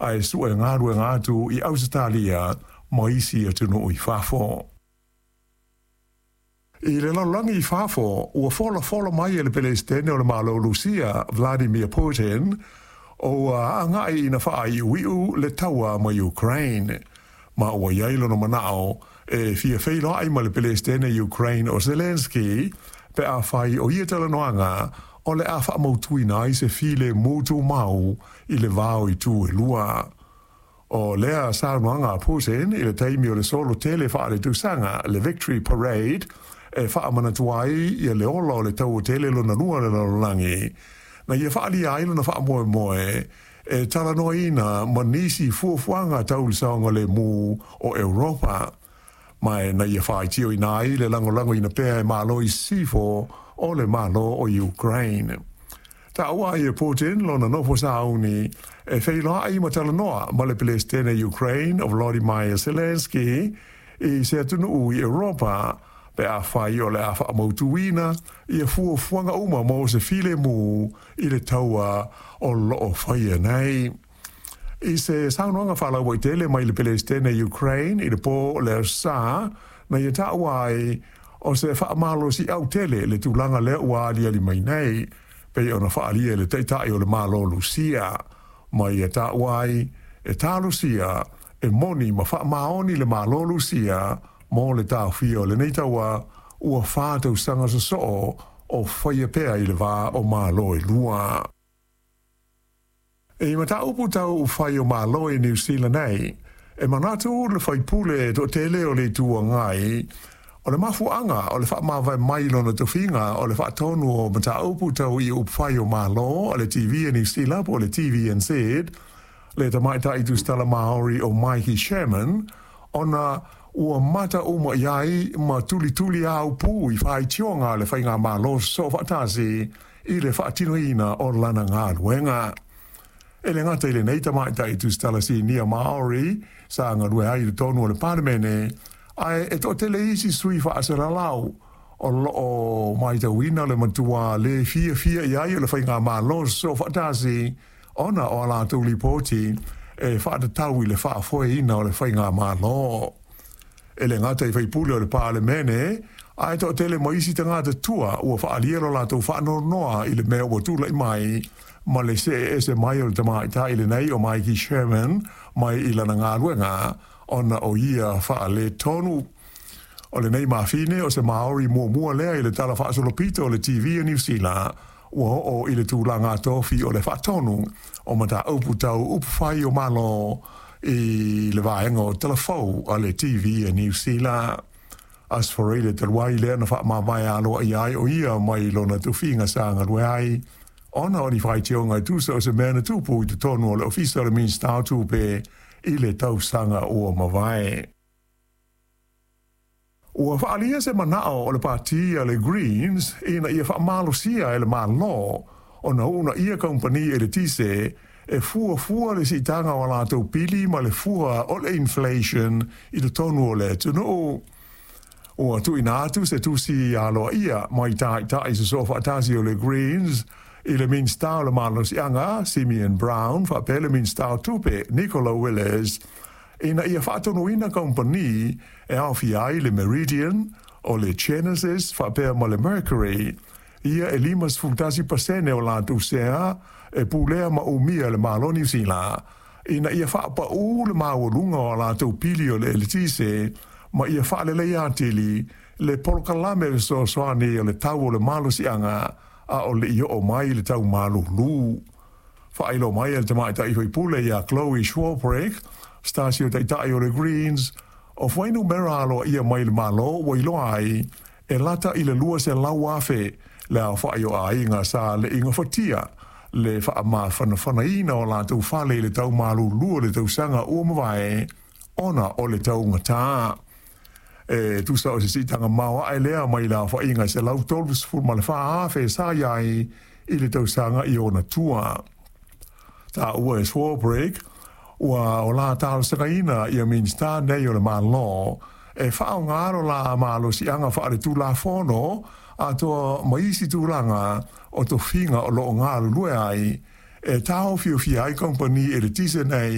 Ae sue galuega atu i Ausetalia ma isi atunuu i fafo. I le lalolagi i fafo, ua folafola mai e le Pelesitene o le Malo o Lusia, Vladimir Putin, ua agai ina faaiuiu le taua ma Ukraine. Ma ua i ai lona manao e fia feiloai ma le Pelesitene Ukraine o Zelensky pe afai o ia talanoaga o le a faamautuina ai se filemu tumau i le va o itu e lua. O lea saunoaga a Putin i le taimi o le solo tele faaletausaga, le Victory Parade, e faamanatu ai ia le ola o le Taua Tele Lona Lua o le Lalolagi, na ia faaalia ai lona faamoemoe e talanoaina ma nisi fuafuaga tau le saogalemu o Europa, ma e na ia faitioina ai le lagolagoina pea e Malo i Sisifo o le Malo o Ukraine. Taua ai e Putin lona nofo sauni e feiloai ma talanoa ma le Pelesitene Ukraine o Volodymyr Zelensky i se atunuu i Europa pe afai o le a faamautuina ia fuafuaga uma mo se filemu i le taua o lo o faia nei. I se saunoaga faalauaitele mai le Pelesitene Ukraine i le po o le Aso Sa, na ia taua ai o se faamalosiau tele le tulaga lea ua aliali mai nei, pei ona faaalia e le Taitai o le Malo Lusia, ma ia taua ai e talosia e moni ma faamaoni le Malo Lusia mo le taofia o lenei taua ua 4 tausaga sosoo o faia pea i le va o Malo e lua. I mataupu tau upufai o Malo i Niu Sila nei, e manatu le faipule toatele o le Itu Agai, o le mafuaaga o le faamavae mai lona tofiga o le faatonu o mataupu tau i upufai o Malo a le TV a Niu Sila po o le TVNZ, le tamaitai tusitala Maori o Maiki Sherman, ona ua mata uma i ai ma tulituli aupu i faitioga a le faigamalo soofaatasi i le faatinoina o lana galuega. E le gata i lenei tamaitai tusitala sinia Maori sa galue ai i totonu o le Palemene, ae e toatele isi sui faasalalau o loo matauina le matua le fiafia i ai o le faigamalo soofaatasi ona o a latou lipoti e faatatau i le faafoeina o le faigamalo. E le gata i faipule o le Palemene, ae toatele ma isi tagata tua ua faaalia lo latou faanoanoa i le mea ua tulai mai ma le see ese mai o le tamaitai lenei o Maiki Sherman mai i lana galuega ona o ia faaletonu. O lenei mafine o se Maori muamua lea i le tala faasolopito o le TV a Niu Sila ua oo i le tulaga tofi o le faatonu o mataupu tau upufai o Malo i le vaega o talafou a le TV a Niu Sila. Aso Faraile talu ai lea na faamavae aloaia ai o ia mai lona tofiga sa galue ai ona o ni faitioga e tusa o se mea na tupu i totonu o le ofisa o le Minista o Tupe i le tausaga ua mavae. Ua faaalia se manao o le pati a le Greens ina ia faamalosia e le Malo ona uunaia kamupani eletise e fuafua le siitaga o a latou pili ma le fua o le inflation i totonu o le atunuu. Ua tuuina atu se tusi aloaia mai taitai sosoofaatasi o le Greens i le Minista o le Malosiaga Simeon Brown faapea le Minista o Tupe Nicola Willis ina ia faatonuina kamupani e aofia ai le Meridian, o le Genesis faapea ma le Mercury, ia e 51% o latou sea e pulea ma umia e le Malo Niu Sila, ina ia faapaū le maualuga o a latou pili o le eletise ma ia faaleleia atili le polokalame fesoasoani o le tau o le malosiaga a o le i oo mai le tau malulu. Faailoa mai e le tamaitai faipule ia Chloe Swarbrick, stasio taitai o le Greens, o fuainumera aloaia mai le Malo ua iloa ai e lata i le 200,000 le aofai o aiga sa le i gafatia le faamafanafanaina o latou fale i le tau malulu o le tausaga ua mavae ona o le taugatā. E tusa o se siitaga maoae lea mai le aofaiga e 134,000 sa i ai i le tausaga i ona tua. Taua e Swarbrick, ua o la talosagaina ia Minista nei o le Malo e faaaoga lo la malosiaga faaletulafono atoa ma isi tulaga o tofiga o loo galulue ai e taofiofia ai kamupani eletise nei.